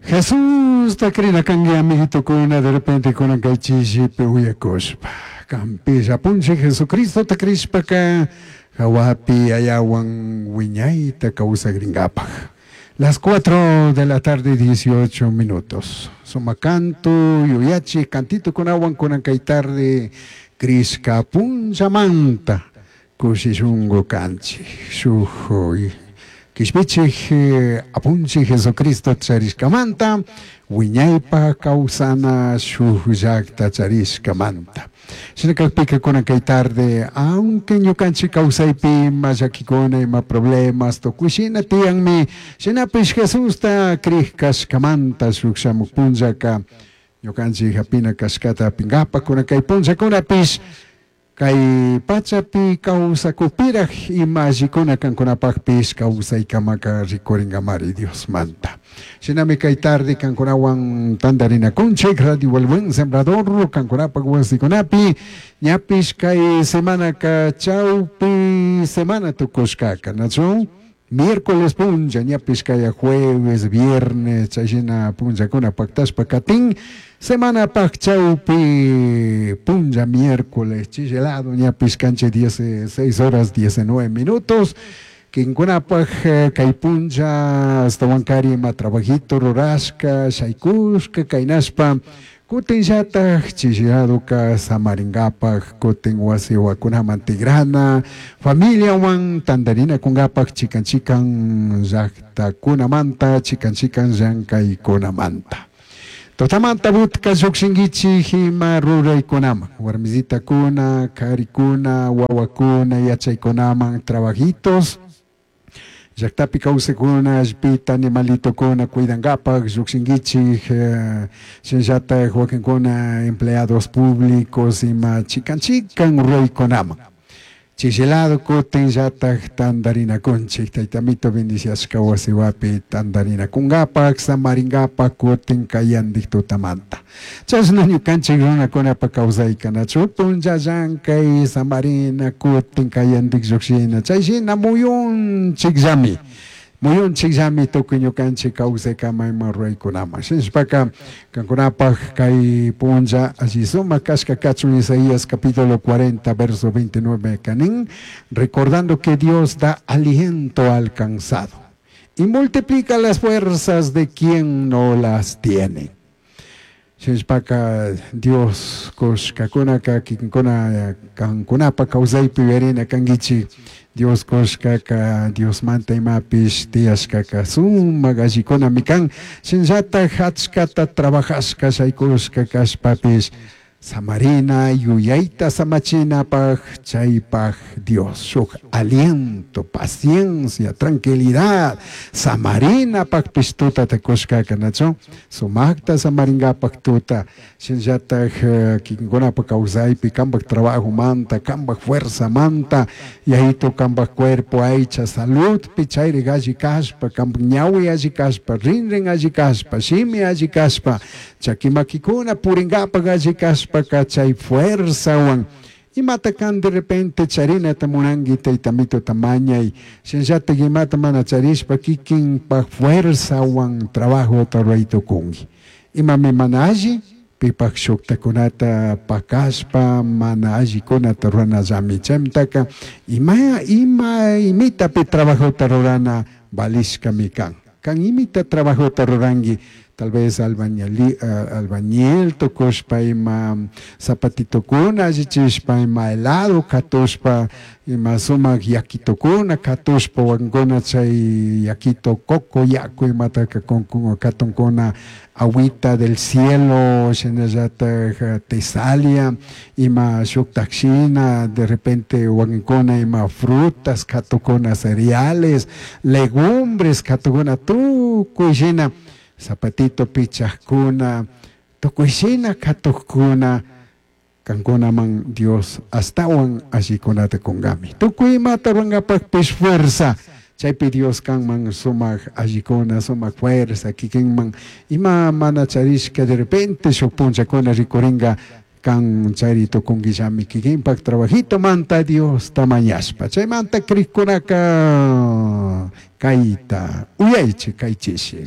Jesusta crina cangui amiguitocuna de repente kunan kay chishipi uyakushpa. Canpish apunchik Jesucristota crishpaca jahuapi Yayawan wiñayta kawsakrinkapaj. Las 4 de la tarde 18 minutos. Sumak canto yuyachik cantitokunawan kunan kay tarde crishka punchamanta kushi shunku kanchik. Shuk kishpichik apunchik Jesucristo charishkamanta wiñaypa kawsana shuk llakta charishkamanta. Shina kakpika kunan kay tarde, aunque ñukanchik kawsaypi ima llakikuna, ima problemas tukuy shina tiyanmi, shinapish Jesusta crik kashkamanta shuk shamuk punllaka ñukanchik hapina kashkata hapinkapak kunan kay punllakunapish kay pachapi kawsakupiraj ima allikuna kankunapakpish kawsaykamaka rikurinkamari Diosmanta. Shinami kay tarde kankunawan tantarinakunchik Radio El Buen Sembrador kankunapak wasikunapi ñapish kay semanaka chawpi semana tukushkaka, nachu? Miércoles punlla ñapish kaya jueves, viernes chayshina punllakuna paktashpa katin semanapak chawpi punlla miércoles chillelado ñapish kanchik 16 horas 19 minutos. Kinkunapak kay punlla ashtawankari ima trabajito rurashka shaykushka kaynashpa kutinllatak chilliladoka samarinkapak kutin wasi wakunaman tigrana familiawan tantarinakunkapak chikan chikan llaktakunamanta chikan chikan llankaykunamanta. Tutamanta butka llukshinkichik ima ruraykunaman warmisitakuna, karikuna, wawakuna, yachaykunaman trabajitos llaktapi kawsakuna allpita animalitokuna cuidankapak llukshinkichik shinallatak wakinkuna empleados públicos ima chikan chikan ruraykunaman. Chillilado kutinllatak tantarinakunchik tayta amito bendiciashka wasiwapi tantarinakunkapak samarinkapak kutin kayandik tutamanta. Chashna ñukanchik runakunapak kawsayka nachu punlla llankay samarina kutin kayandik llukshina chayshina muyunchikllami. Muyunchikllami tukuy ñukanchik kawsaykama ima ruraykunaman. Shinashpaka kankunapak kay punlla alli sumak kashka kachun Isaías capítulo 40 verso 29 kanin, recordando que Dios da aliento al cansado y multiplica las fuerzas de quien no las tiene. Shinashpaka Dios kushkakunaka kikinkuna kankunapak kawsaypi yuyarina kankichik Dios kushkaka Diosmanta imapish tiyashkaka sumak allikunami kan shinallatak achkata trabajashka shaykushka kashpapish samarina yuyayta samachinapak chaypak Dios shuk aliento, paciencia, tranquilidad samarinapakpish tutata kushkaka nachu sumakta samarinkapak tuta shinallatak kikinkunapak kawsaypi kanpak trabajomanta kanpak fuerzamanta yayitu kanpak cuerpo aycha saludpi chayrik alli kashpa kanpak ñawi alli kashpa rinrin alli kashpa shimi alli kashpa chaki makikuna purinkapak alli kashpa chay fuerzawan imata kan de repente charinata munanki tayta amituta mañay shinallatak imata mana charishpa kikinpak fuerzawan trabajota ruray tukunki imami mana alli pipak shuktakunata pakashpa mana allikunata ruranallami chaymantaka ima ima imitapi trabajota rurana valishkami kan kan imita trabajota ruranki tal vez albañil tukushpa ima zapatitokuna allichishpa ima helado katushpa ima sumak yakitokuna katushpa wakinkuna chay yakito coco yaku imataka katunkuna agüita del cielo shinallatak Tesalia ima shuktak shina de repente wakinkuna ima frutas katukuna cereales legumbres katukuna tukuy shina zapatito pichajkuna tukuy shina katukkuna kankunaman Dios astawan allikunata kunkami tukuy imata rurankapakpish fuerza chaypi Dios kanman sumak allikuna sumak fuerza kikinman ima mana charishka de repente shuk punllakuna rikurinka kan chari tukunkillami kikinpak trabajitomanta Diosta mañashpa chaymanta krikkunaka kayta uyaychik kaychishi.